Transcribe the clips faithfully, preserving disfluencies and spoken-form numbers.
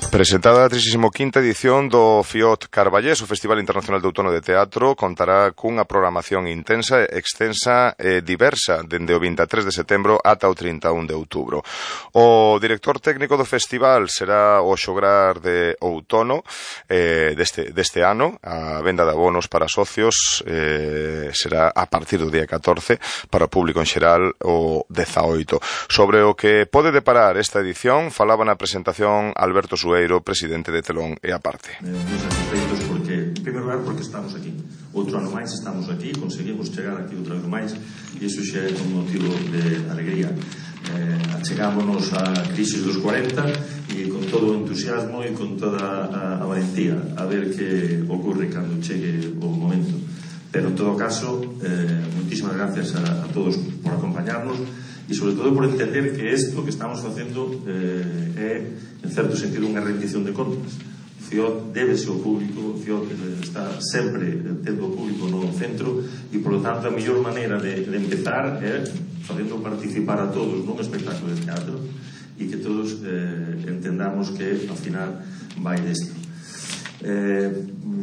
Presentada a trixésima quinta edición do FIOT Carballés, o Festival Internacional de Outono de Teatro, contará cunha programación intensa, extensa e diversa dende o vinte e tres de setembro ata o trinta e un de outubro. O director técnico do festival será o xograr de outono eh, deste, deste ano. A venda de abonos para socios eh, será a partir do día catorce, para o público en xeral o dezaoito. Sobre o que pode deparar esta edición falaba na presentación Alberto Sueiro, presidente de Telón e Aparte. Eh, moi satisfeitos porque, en primeiro lugar, porque estamos aquí. Outro ano máis estamos aquí, conseguimos chegar aquí outro ano máis, e iso xa é un motivo de alegría. Eh, achegámonos á crisis dos cuarenta e con todo o entusiasmo e con toda a, a valentía a ver que ocurre cando chegue o momento. Pero, en todo caso, eh, moitísimas gracias a, a todos por acompañarnos e sobre todo por entender que isto que estamos facendo eh, é, en certo sentido, unha rendición de contas. O FIOT débese ao público, o FIOT está sempre tendo o público no centro e, por lo tanto, a mellor maneira de, de empezar é facendo participar a todos nun espectáculo de teatro e que todos eh, entendamos que, ao final, vai desto. Eh,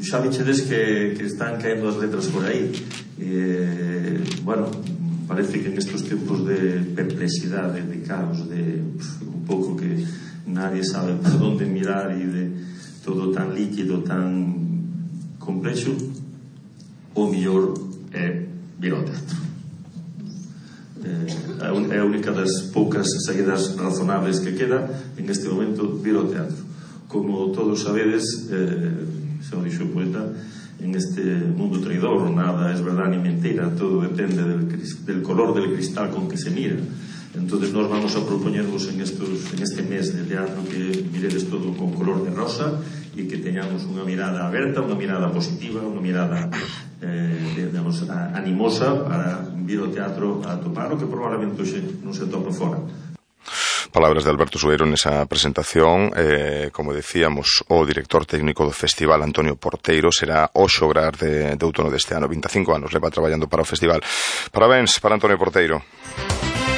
xa dichedes que, que están caendo as letras por aí. Eh, bueno, parece que en estos tempos de perplexidade, de caos, de pff, un pouco que nadie sabe por onde mirar e de todo tan líquido, tan complexo, o mellor é vir ao teatro. Eh, é a única das poucas saídas razonables que queda en este momento, vir ao teatro. Como todos sabedes, eh, xa o dixo o poeta, en este mundo traidor nada es verdad ni mentira, todo depende del, del color del cristal con que se mira. Entonces nos vamos a proponervos en, estos, en este mes de teatro que miredes todo con color de rosa y que teñamos unha mirada aberta, unha mirada positiva, unha mirada eh, digamos, animosa para vir ao teatro a topar o que probablemente hoxe non se topa fora. Palabras de Alberto Sueiro nesa presentación. Eh, como decíamos, o director técnico do festival, Antonio Porteiro, será o xograr de, de outono deste ano. vinte e cinco anos leva traballando para o festival. Parabéns para Antonio Porteiro.